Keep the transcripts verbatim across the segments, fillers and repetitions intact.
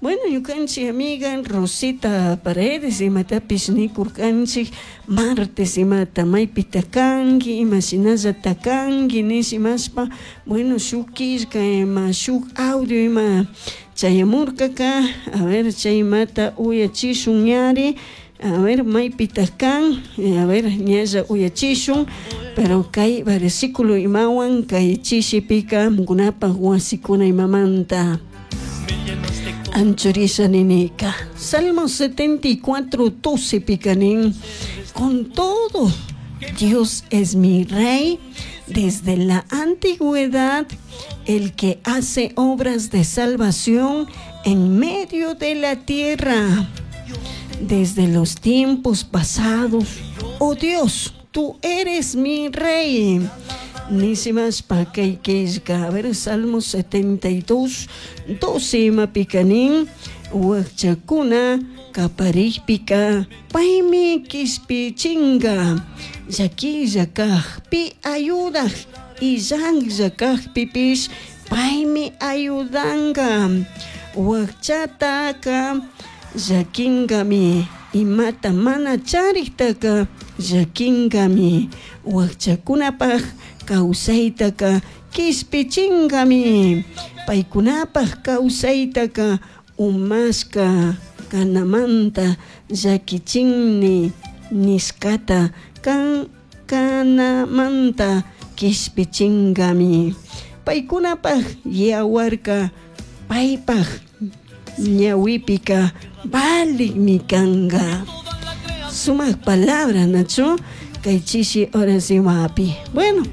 Bueno, ñukanchik amiga Rosita Paredes imatapish nikurkanchik martes imata maypita kanki imashinallata kanki nishimashpa, bueno, shuk killka ima shuk audio ima chayamurkaka. A ver, chaymata uyachishun ñari. A ver, maypita kan, a ver, ñalla uyachishun, pero kay versículo imawan kay chishipika kunapaj wasikuna imamanta anchurisha ninika. Salmo setenta y cuatro, doce pikanin, con todo, Dios es mi rey desde la antigüedad, el que hace obras de salvación en medio de la tierra. Desde los tiempos pasados, oh Dios, tú eres mi rey. Nisimas pa kay killka. A ver, Salmo setenta y dos, doce mapikanin, wakchakuna kaparikpika, paymi kishpichinga, llakilla kajpi ayudaj, illanlla kajpipish paymi ayudanga, wakchataka llakinkami, imata mana chariktaka llakinkami, wakchakunapaj kawsaytaka kishpichinkami, paykunapaj kawsaytaka umashka kanamanta llakichinni nishkata kan kanamanta kishpichinkami, paykunapaj yawarka paypaj ñawipika valikmi kanka. Sumak palabra, Nacho, kay chishi oracimapi. Bueno,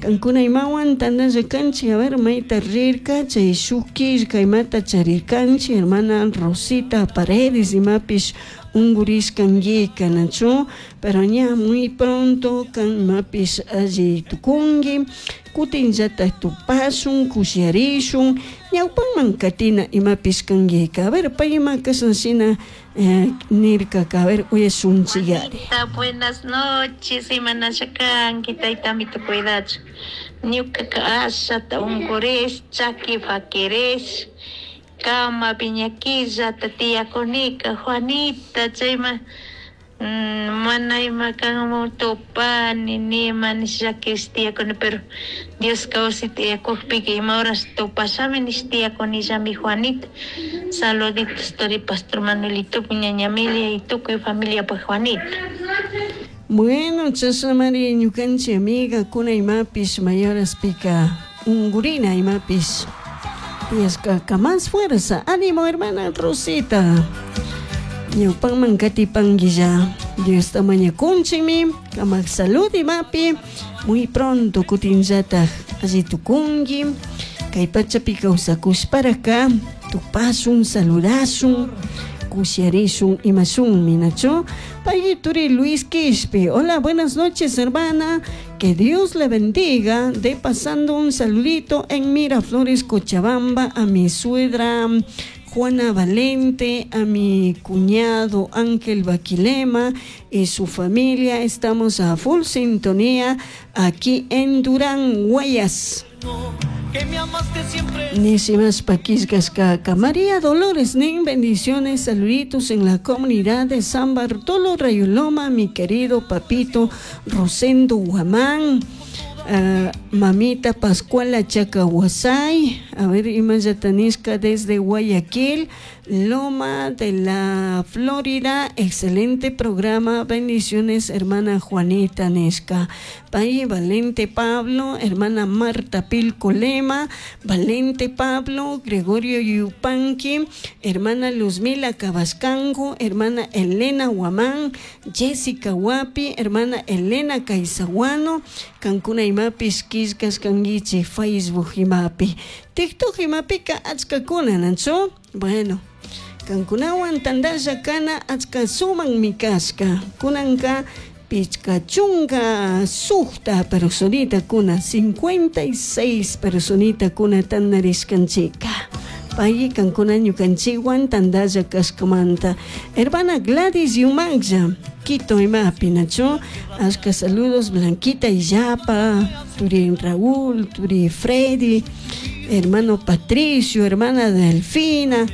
kankuna imawan tandalla kanchi, a ver, mayta rirka, chay shuk killka imata charirkanchi, hermana Rosita Paredes imapish unguriskanguika, Nacho, pero ña muy pronto kan imapish alli tukunki, kutinllata tupashun, kushiarishun, ñawpanman katina imapish kanguika. A ver, pay ima kashan eh, nirka, a ver, uyashunchiyari. Juanita, buenas noches, imanasha kanki, taytamito cuidachu. Ñukaka ashata unguris, chaki faquiris, kama piñakillata tiyakunika, Juanita, chayma mm, mana ima kanmu tupani, nima nishakis tiyakuni, pero Dios kawsi tiyakukpika ima horas tupashami nish tiyakunillami, Juanita. Saluditos tori Pastor Manuelito, ñaña Amelia y tukuy familia pues Juanita. Bueno, chashamari ñukanchik amiga kuna imapish mayoraspika ungurina imapish tiyashkaka, más fuerza, ánimo hermana Rosita. Ñawpanman katipanguilla, Dios mañakunchikmi, kamak salud imapi, muy pronto kutinllataj alli tukunki, kay pachapi kawsakushparaka, tupashun, saludashun, kushiarishun imashunmi, nacho. Payituri Luis Quispe, hola, buenas noches hermana, que Dios le bendiga, de pasando un saludito en Miraflores, Cochabamba, a mi suegra Juana Valente, a mi cuñado Ángel Baquilema y su familia. Estamos a full sintonía aquí en Durán, Guayas. Nisimas Paquisgascaca. María Dolores Nin, bendiciones, saluditos en la comunidad de San Bartolo Rayoloma, mi querido papito Rosendo Guamán. Uh, mamita Pascuala Chacahuasay, a ver, Imayatanisca desde Guayaquil, Loma de la Florida, excelente programa, bendiciones hermana Juanita Nesca, Valle Valente Pablo, hermana Marta Pilcolema, Valente Pablo, Gregorio Yupanqui, hermana Luzmila Cabascango, hermana Elena Guamán, Jessica Huapi, hermana Elena Caizaguano, Cancuna imapis killkas kanguichi Facebook imapi, TikTok imapika achkakuna, nacho. Bueno, kankunawan tandalla kana achka suman mi kashka, kunanka pichka chunka sukta personita kuna, cincuenta y seis personita kuna tandarishkanchika. Payi kankuna ñukanchikwan tandalla kashkamanta. Hermana Gladys Yumaglla, Quito imapi, nacho. Ashka saludos, Blanquita y Yapa, Turi Raúl, Turi Freddy, hermano Patricio, hermana Delfina,